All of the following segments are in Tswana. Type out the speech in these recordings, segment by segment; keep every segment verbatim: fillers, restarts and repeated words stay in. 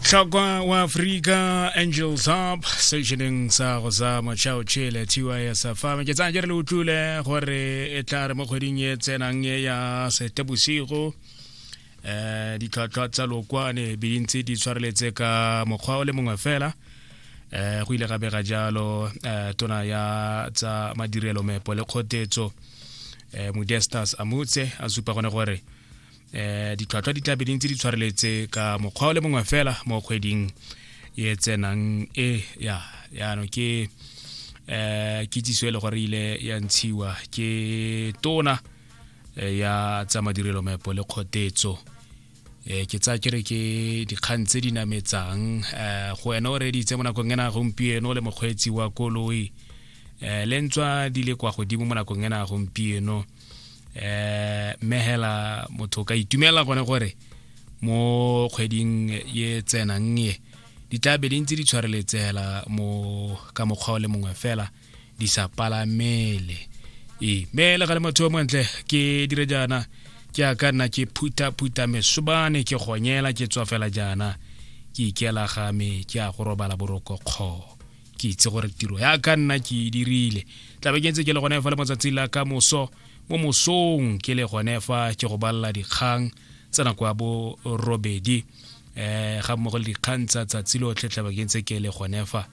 Tlhokwa wa Afrika Angels Up sejeneng sa go sa motšhao tšhele T Y S F M. Ke tsaya ke re le utlwile gore e tla re mo kgweding e tsenang e ya Seetebosigo eh ditlhwatlhwa tsa lokwane be di ntse di tshwareletse ka mokgwa o le mongwe fela. Eh go ile ga bega jalo eh tona ya tsa madirelo meepo le kgotetso eh Modestus Amutse a supa gone gore eh ditlhwatlhwa di tla be di ntse di tshwareletse ka mokgwa o le mongwe fela mo kgweding e tsenang e ya yaanong ke eh kitsiso e le gore ile ya ntshiwa ke tona ya tsa madirelo meepo le kgotetso. Eh ke tsaya ke re ke dikgang tse di nametsang eh go wena o reditse mo nakong ena gompieno le mokgweetsi wa koloi eh le ntswa di le kwa godimo mo nakong ena gompieno eh mme hela motho ka itumela gone gore mo kgweding ye tsenang e di tla be di ntse di tshwareletse hela mo ka mokgwa o le mongwe fela di sa palamele. E mme le ga le motho o montle ke dire jaana ke a ka nna ke phutha-phutha mesobane ke gonyela ke tswa fela jaana ke ikela ga me ke a go robala boroko kgo ke itse gore tiro ya ka nna ke e dirile. Tla be ke ntse ke le gone fa le motsatsi la ka moso mo mosong ke le gone fa ke go balla dikgang tsa nako ya bo robedi eh ga mmogo le dikgang tsa tsatsi lotlhe. Tla be ke ntse ke le gone fa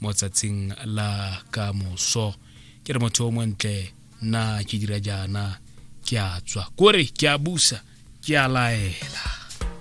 mo tsatsing la ka moso. Ke re motho o montle nna ke dira jaana ke a tswa kore ke a busa ke a laela.